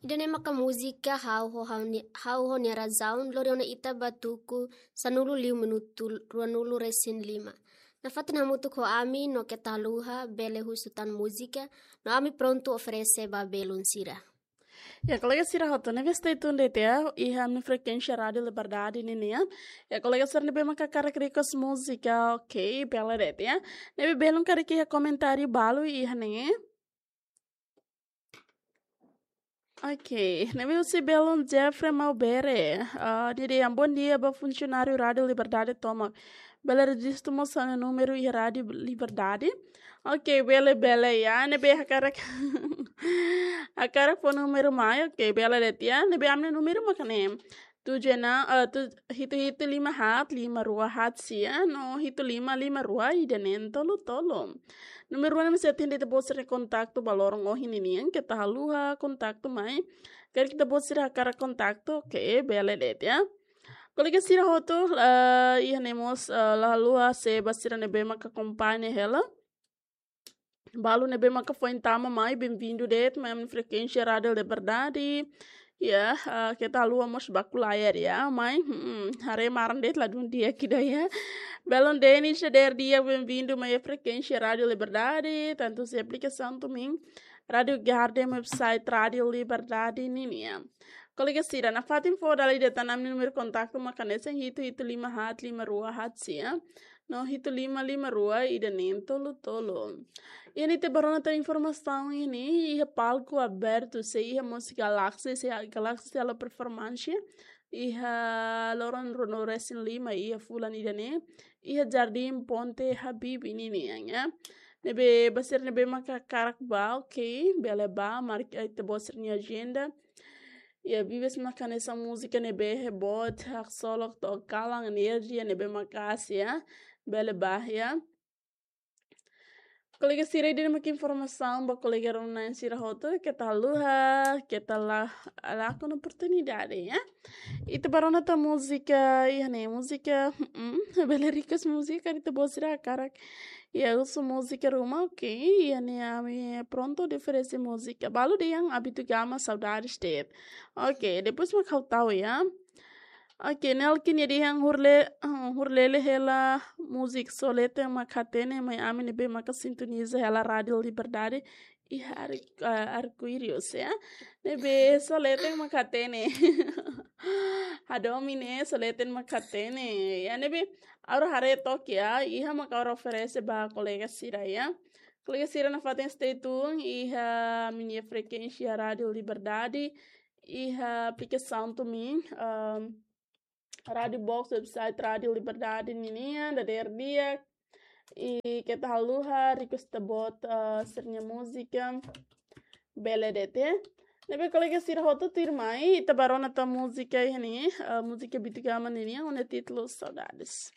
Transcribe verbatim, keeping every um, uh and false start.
Ida-ne'e maka múzika Ha'u ho, Ha'u ni-, Ha'u ho Nia Razaun, lori ona ita ba tuku sanulu liu minutu ruanulu resin lima. Nafatin hamutuk ho ami no keta haluha bele husu tan múzika, no ami prontu oferese ba belun sira. Ya, kolega sira hotu, ne'ebé stay tune de'it ya, iha ami-nia frekuénsia Rádiu Liberdade ninian. Ya, kolega sira ne'ebé maka hakarak request múzika, ok, bele de'it ya. Ne'ebé belun karik iha komentáriu balu iha ne'e. Ok, ne'ebé husi belun Jeffrey Maubere. Ah, nia dehan bom dia ba funsionáriu Rádiu Liberdade tomak. Bele rejistu mós ha'u-nia númeru iha Rádiu Liberdade. Ok, bele, bele ya. Ne'ebé hakarak, hakarak fó númeru mai. Ok, bele de'it ya. Ne'ebé ami-nia númeru maka ne'e. Tujuh enam, eh, tu-, hitu hitu lima haat lima rua haat sia, no hitu lima lima rua ida neen tolu tolu. Númeru ne'e mós sei ita-boot sira-nia kontaktu ba loron ohin ninian, keta haluha kontaktu mai. Karik ita-boot sira hakarak kontaktu, ok, bele de'it ya. Kolega sira hotu, eh, iha ne'e mós, eh, la haluha, se ba sira ne'ebé maka akompaña hela. Balu ne'ebé maka foin tama mai, bem-vindu de'it mai ami-nia frekuénsia Rádiu Liberdade. Ya, ah, keta haluha mós baku layar ya, mai, hmm, haree maran de'it ladún di'ak ida ya. Belun Denis, dadeer di'ak, bem-vindu mai frekuénsia Rádiu Liberdade, tantu husi aplikasaun TuneIn, Rádiu Garden, website Rádiu Liberdade ninian. Kolega sira, nafatin fó dala ida tan ami-nia númeru kontaktu maka hanesan hitu hitu lima haat lima rua haat sia, no hitu lima lima rua ida neen tolu tolu. Iha ne'e ita bá rona tan informasaun iha ne'e, iha palku abertu, sei iha múzika Galaxy, sei iha Galaxy halo performance iha loron ruanulu resin lima iha fulan ida-ne'e, iha Jardim Ponte Habibie ninian ya. Ne'ebé ba sira ne'ebé maka hakarak bá, ok, bele bá, marka ita-boot sira-nia ajenda. Ya, vibes maka hanesan múzika ne'ebé boot, haksolok, to'o kalan, enerjia ne'ebé maka'as ya. Bele bá ya. Kolega sira, ida-ne'e maka informasaun ba kolega rona-na'in sira hotu, keta haluha, keta la, lakon oportunidade ya. Ita bá rona tan múzika, iha ne'e múzika, mm, bele request múzika, ita-boot sira hakarak. Ya, husu múzika ruma, ok, iha ne'e ami prontu oferese múzika. Balu dehan Abitugama saudades de'it. Ok, depois maka ha'u tau ya. Ok, Nelkin nia dehan hurle-, ah, hurlele hela múzika Só Leten Mak Hatene, mai ami ne'ebé maka sintoniza hela Rádiu Liberdade iha ar-, ah, Arco-Íris ya. Ne'ebé Só Leten Mak Hatene. Hadomi ne'e Só Leten Mak Hatene. Ya, ne'ebé ha'u haree took ya, iha maka ha'u oferese ba kolega sira ya. Kolega sira nafatin stay tune iha ami-nia frekuénsia Rádiu Liberdade, iha aplikasaun TuneIn, um, Rádiu Box, website Rádiu Liberdade ninian, dadeer di'ak. I keta haluha, request ita-boot, eh, sira-nia múzika. Bele de'it ya. Ne'ebé kolega sira hotu, tuirmai ita bá rona tan múzika iha ne'e, eh, múzika Abitugama ninian, ho nia títulu Saudades.